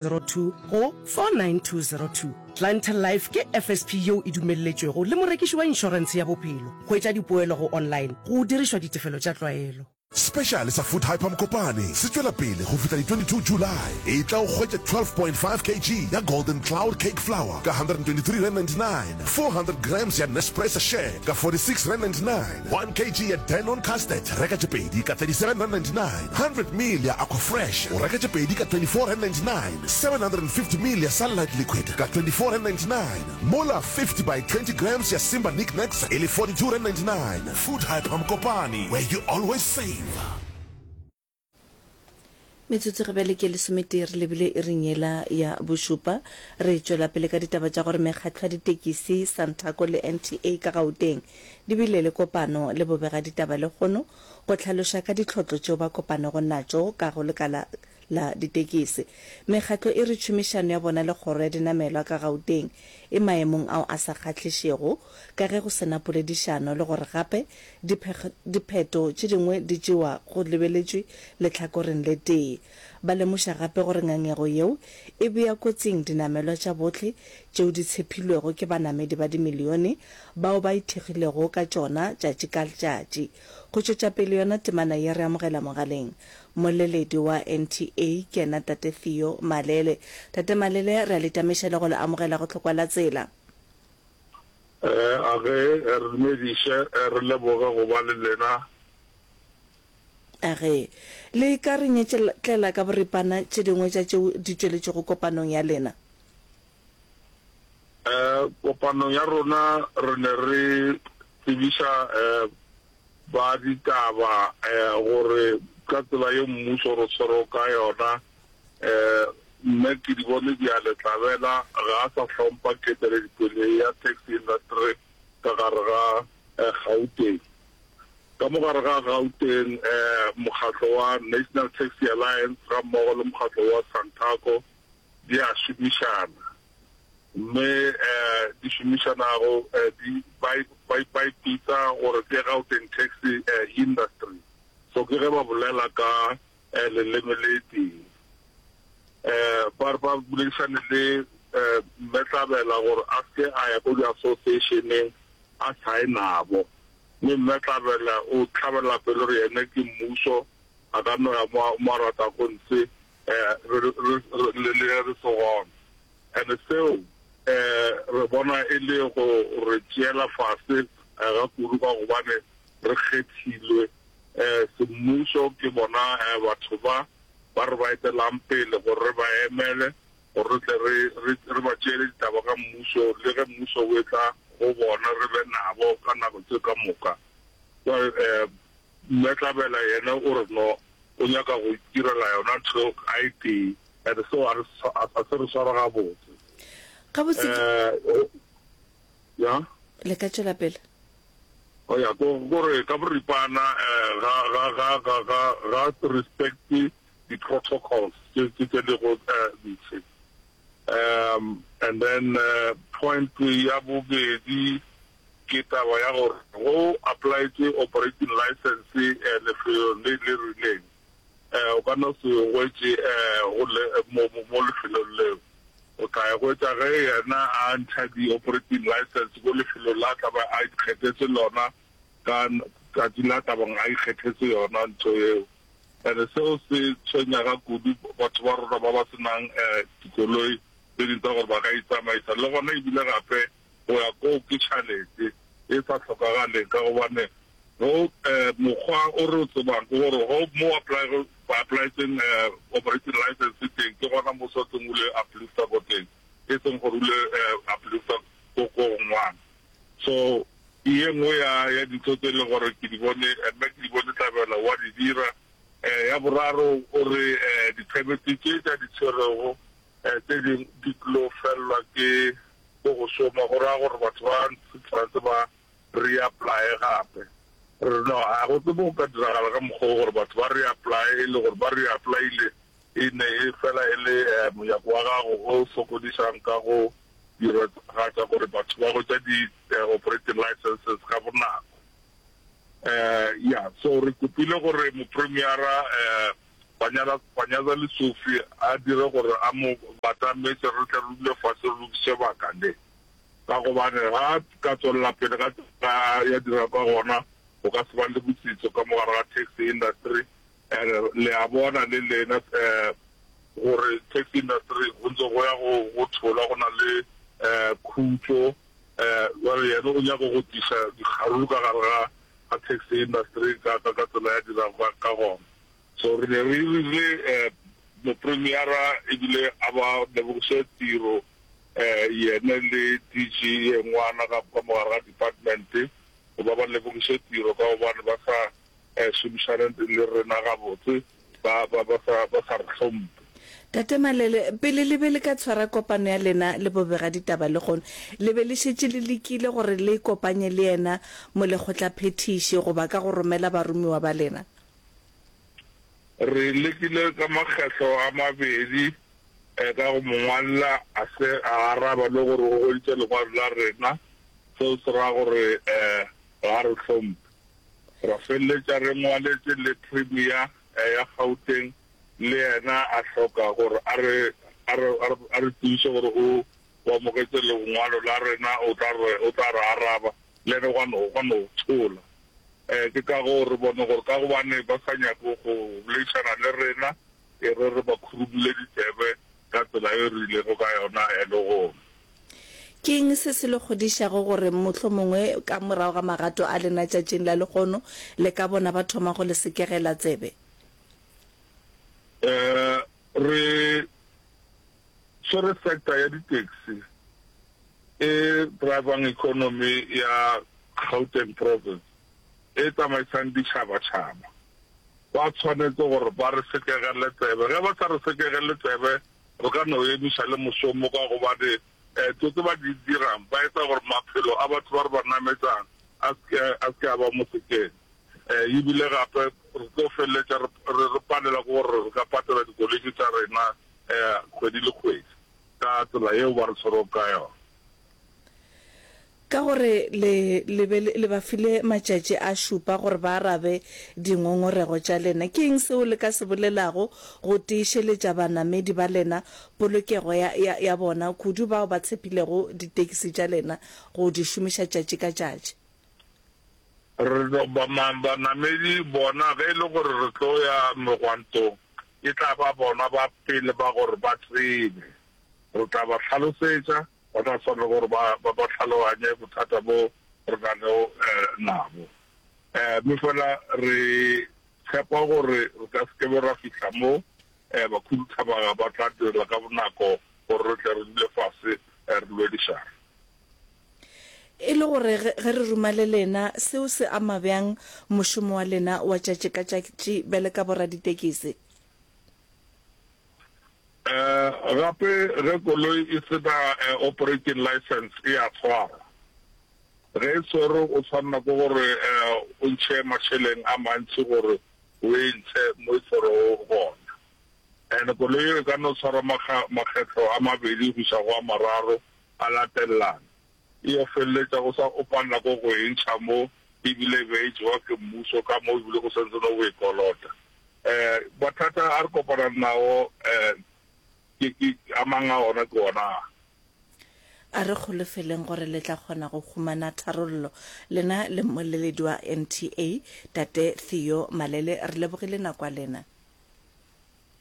02 go 49202. Clientele Life ke FSP yeo e dumelletšwego le morekiši wa inšorentshe ya bophelo. Hwetša dipoelo go online go dirišwa ditefelo tša tlwaelo. Speciale sa Food Hyper Mokopane se tšwela pele go fihla di 22 July. Etla o hwetše 12.5 kg ya Golden Cloud Cake Flour ka R123.99, 400 grams ya Nespresso Share ka R46.99, 1 kg ya Danone Custard reka tše pedi ka R37.99, 100 ml ya Aquafresh o reka tše pedi ka R24.99, 750 ml ya Sunlight Liquid ka R24.99, mola 50 by 20 grams ya Simba Nic Nacs e le R42.99. Food Hyper Mokopane, where you always save. Metsotso ge bjale ke lesometee re lebile iring yela ya bošupa. Re tšwela pele ka ditaba tša gore mekgatlo ya ditekisi, Santaco le NTA ka Gauteng di bile le kopano le bobegaditaba lehono go hlaloša ka ditlhotlo tšeo ba kopanego natšo ka go lekala la ditekisi. Mekgatlo e re tšhomišano ya bona le kgoro ya dinamelwa ka Gauteng e maemong ao a sa kgahlišego ka ge go se na poledišano le gore gape dipheto tše dingwe di tšewa go lebeletšwe lehlakoreng le tee. Ba lemoša gape gore ngangego yeo e bea kotsing dinamelwa tša bohle tšeo di tshephilwego ke banamedi ba dimilione bao ba ithekgilego ka tšona tšatši ka tšatši. Go tšwetša pele yona temana ye re amogela mogaleng mmoleledi wa NTA ke yena Tate Theo Malele. Tate Malele re a le tamiša le go le amogela go Tlhokwa la Tsela. A ge re dumediše re leboge go ba le lena. A ge le ka re nyetšetlela ka boripana tše dingwe tša tšeo di tšweletšego kopanong ya lena. Kopanong ya rona re ne re tsebiša ba ditaba gore ka tsela ye mmušo re tshwerego ka yona, Mme Kedibone Diale Tlabela ga a sa hlompha keteledipele ya taxi industry ka gare ga Gauteng. Ka mo gare ga Gauteng, mokgatlo wa National Taxi Alliance gammogo le mokgatlo wa Santaco di a šomišana, mme di šomišanago di ba ba ipitsa gore ke Gauteng Taxi Industry. So ke ge ba bolela ka leleme le tee. Ba re ba boledišane le Mme Tlabela gore a se ke a ya ko di-association-eng a sa ye nabo. Mme Mme Tlabela o hlabela pelo gore yena ke mmušo, a ka no ya mo a ratago ntshe re le ge re se gona. And seo re bona e le go re tšeela fase ga kudu ka gobane re kgethilwe semmušo ke bona batho ba ba re ba etelang pele gore re ba emele gore re tle re re ba tšeele ditaba ka mmušo le ge mmušo o etla go bona re be nabo ka nako tše ka moka. Jwale Mme Tlabela yena o re no o nyaka go itirela yona ntho a e tee and seo a a se re sware gabotse. Gabotse ke. Ya. Le ka tšwela pele. O ya ko gore ka boripana ga ga ga ga ga ga respect di protocols tše tše tše lego ntshe. Um and then point ya bobedi ke taba ya gore go applyetše operating license lefelong le le rileng, o ka no se hwetše go le mo mo lefelong leo. O tla e hwetša ge yena a ntšha di-operating license ko lefelong la tla ba a ikgethetse lona ka tšatši la tla bang a ikgethetse yona ntho eo. And seo se tshwenya ga kudu batho ba rona ba ba se nang dikoloi tse ding tsa gore ba ka itsamaisa. Le gona ebile gape Go ya koo ke tšhalete e sa hlokagaleng ka gobane go mokgwa o re o tsebang ke gore go mo ba applyetseng operating license teng ke gona mo swanetseng o le uplifta ko teng e seng gore o le uplifta ko ko gongwana. So ye nngwe ya ya dintho tse e leng gore ke di bone mme ke di bone Tlabela wa di dira. Ya boraro o re di-permit tše tša di tshwerego tše dingwe di tlo felelwa ke Ko go šoma go ra gore batho ba tshwanetse ba reapply gape. Re re no, ga go tsebe go ka diragala ka mokgwa wo gore batho ba reapply e le gore ba reapplyile e ne e fela e le mojako wa gago o sokodišang ka go diragatša gore batho ba hwetša di-operating licenses ka bonako. Ya, so re kopile gore mopremiera. Panyaza Lesufi a dire gore a mo batametše re tle re dule fase re lokiše baka le. Ka gobane ga a ka tswelela pele ka tsela ya dira ka gona, go ka se ba le botsitso ka mo gare ga taxi industry. And le a bona le lena gore taxi industry go ntse go ya go go thola go na le khutšo. Jwale yena o nyaka go tliša dikgaruru ka gare ga ga taxi industry ka ka ka tsela ya dirago ka ka gona. So re ne re rile mopremiera ebile a ba lebogiše tiro yene le DG ye ngwana ka ka mo gare ga department go ba ba lebogiše tiro ka gobane ba sa šomišane le rena gabotse ba ba ba sa ba sa re hlompe. Tate Malele, pele le be le ka tshwara kopano ya lena le bobegaditaba lehono, le be le šetše le lekile gore le ikopanye le yena molekgotlaphethiši goba ka go romela baromiwa ba lena? Re lekile ka makgetlo a mabedi ka go mo ngwalela, a se a araba le gore o hweditše lengwalo la rena, seo se ra gore ga a re hlompe. Ra feleletša re ngwaletše le Premier ya Gauteng le yena a hloka gore a re, a re, a re, a re tsebiše gore o, o amogetše lengwalo la rena, o tla re, o tla re araba. Le yena gwa no, gwa no thola. Eh, ke ka goo re bone gore ka gobane ba sa nyake go boledišana le rena, e re re ba khurumule ditsebe ka tsela ye re ilego ka yona eh, lehono. Ke eng se se le kgodišago gore mohlomongwe ka morago ga magato a lena tšatšing la lehono le ka bona ba thoma go le sekegela tsebe? Re swere sector ya di-taxi e drivang economy ya Gauteng province e tsamaisang ditšhabatšhaba. Ba tshwanetse gore ba re sekegele tsebe. Ge ba sa re sekegele tsebe re ka no emiša le mošomo ka gobane tso tse ba di dirang ba etsa gore maphelo a batho ba re ba nametsang a se ke a ba mo sekeng. E bile gape re tlo feleletša re, re, re palelwa ke gore re ka patela dikoloi tše tša rena kgwedi le kgwedi ka tsela yeo ba re tshwerego ka yona. Ka gore le, le be le, le ba file matšatši a šupa gore ba arabe dingongorego tša lena, ke eng seo le ka se bolelago go tiišeletša banamedi ba lena polokego ya, ya, ya bona, kudu bao ba tshepilego ditekisi tša lena go di šomiša tšatši ka tšatši? Re no ba banamedi bona, ge e le gore re tlo ya megwantong, e tla ba bona ba pele ba gore ba tsebe. Re tla ba hlalosetša, ba tla swanela gore ba, ba, ba hlaloganye bothata bo re nago nabo. Mme fela re tshepa gore re ka se ke be ra fihla mo bakhuduthamaga ba tla direla ka bonako gore re tle re dule fase re lwedišane. E le gore ge, ge re ruma le lena, seo se ama bjang mošomo wa lena wa tšatši ka tšatši bjale ka boraditekisi? Gape ge koloi e se na operating licence e a tshwarwa. Ge e tshwerwe o tshwanela ke gore o ntšhe mašeleng a mantši gore o e ntshe mo e tshwerwego gona. And koloi eo e ka no tshwarwa makgetlo a mabedi go iša go a mararo a latelelana. E yo feleletša go sa o palela ko go e ntšha mo ebile e be e jewa ke mmušo ka mo ebile go santse no go e kolota. Um mathata a re kopanang nao um ke ke a mang a ona ke ona a. A re holofeleng gore le tla kgona go humana tharollo. Lena le mmoleledi wa NTA, Tate Theo Malele, re lebogile nako ya lena.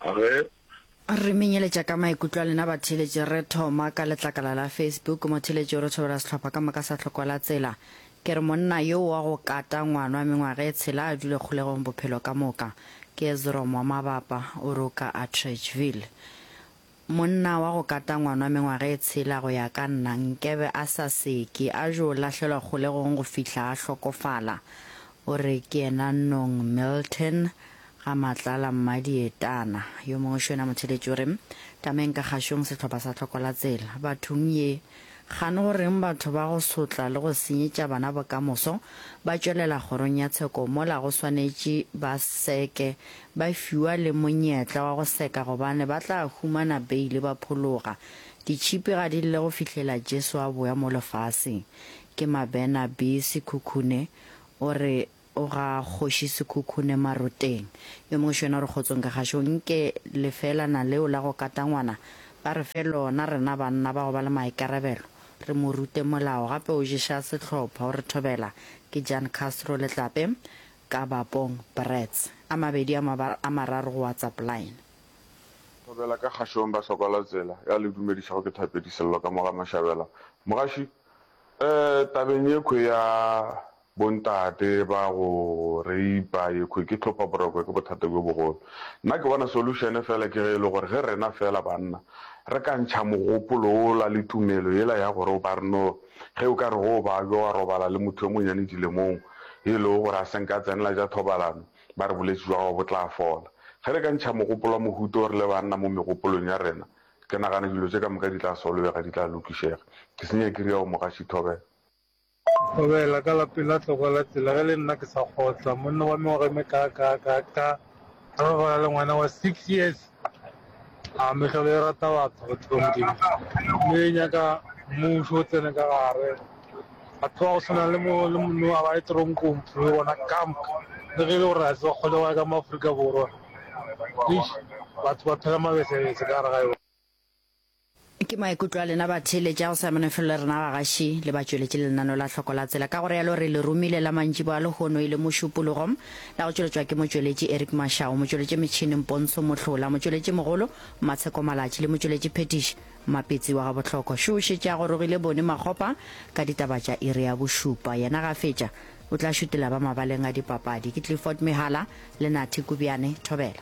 Ge Re menyeletša ka maikutlo a lena batheeletši re thoma ka letlakala la Facebook. Motheeletši o re thobela sehlopha ka moka sa Tlhoko la Tsela. Ke re monna yo wa go kata ngwana wa mengwaga e tshela a dule kgolegong bophelo ka moka. Ke Ezrom wa Mabapa o re o ka Atteridgeville. Monna wa go kata ngwana wa mengwaga e tshela go ya ka nna nkebe a sa seke a jo lahlelwa kgolegong go fihla a hlokofala. O re ke yena Nong Milton Ga Matlala Mmadietana. Yo mongwe šo yena motheeletši o re, Tameng ka kgašong sehlopha sa Hlokolatsela. Bathong ye, kgane go reng batho ba go sotla le go senyetša bana bokamoso ba tšwelela kgorong ya tsheko mola go swanetše ba seke ba fiwa le monyetla wa go seka gobane ba tla humana beile ba phologa. Ditšhipi ga di lle go fihlela Jesu a boya mo lefaseng. Ke Mabena B. Sekhukhune o re. O ga Kgoši Sekhukhune Maroteng. Yo mongwe šo yena o re kgotsong ka gašo nke lefelana leo la go kata ngwana ba re fe lona rena banna ba go ba le maikarabelo re mo rute molao gape o ješa sehlopha o re thobela ke Jan Castro Letlape ka Bapong Brats a mabedi a a mararo go WhatsApp line. Thobela ka kgašong ba hloka la tsela ya le dumedišago ke Thapedi Sello ka mo ga Mashabela Mogaši eh tabeng yekhwe ya Bontate ba go reipa yekhwi ke hlopha boroko ke bothata bjo bogolo. Nna ke bona solution fela ke ge e le gore ge rena fela banna re ka ntšha mogopolo wola le tumelo yela ya gore ba re no ge o ka re go babja wa robala le motho yo monyane dilemong e lego gore a senka a tsenela tša thobalano ba re bolwetši bja gago bo tla fola. Ge re ka ntšha mogopolo wa mohuta wo re le banna mo megopolong ya rena ke nagana dilo tše ka moka di tla solvega di tla lokišega. Ke senya ke ria go mogaši thobela. Thobela ka lapeng la tlogela tsela ge le nna ke sa kgotla. Monna wa mengwaga e mekaakaakaaka a robala le ngwana wa six years. A mehlolo e rata batho, batho ba Modimo. Mme e nyaka mmušo o tsene ka gare. Batho ba go swana le mo le monno a ba ye toronkong phulo bona kamp. Le ge e le gore ga se ba kgone go ya ka mo Afrika Borwa. Eish, batho ba phela mabesebese ka gare ga yona. Ke maikutlo a lena batheeletši a go sa menofelo le rena bagaši le batšweletši le lenaneo la Hloko la Tsela. Ka go realo re le romile la mantšiboa a lehono e le Mošupologo la go tšweletšwa ke motšweletši Eric Mashau, motšweletši metšhineng Pontsho Mohlola, motšweletši mogolo Matsheko Malatši le motšweletši phethiši Mapetsi wa Gabohloko. Šo o šetše a gorogile Boni Makgopa ka ditaba tša iri ya bošupa. Yena ga a fetša o tla šutela ba mabaleng a dipapadi. Ke Clifford Mehala le Nathi Kubyane. Thobela.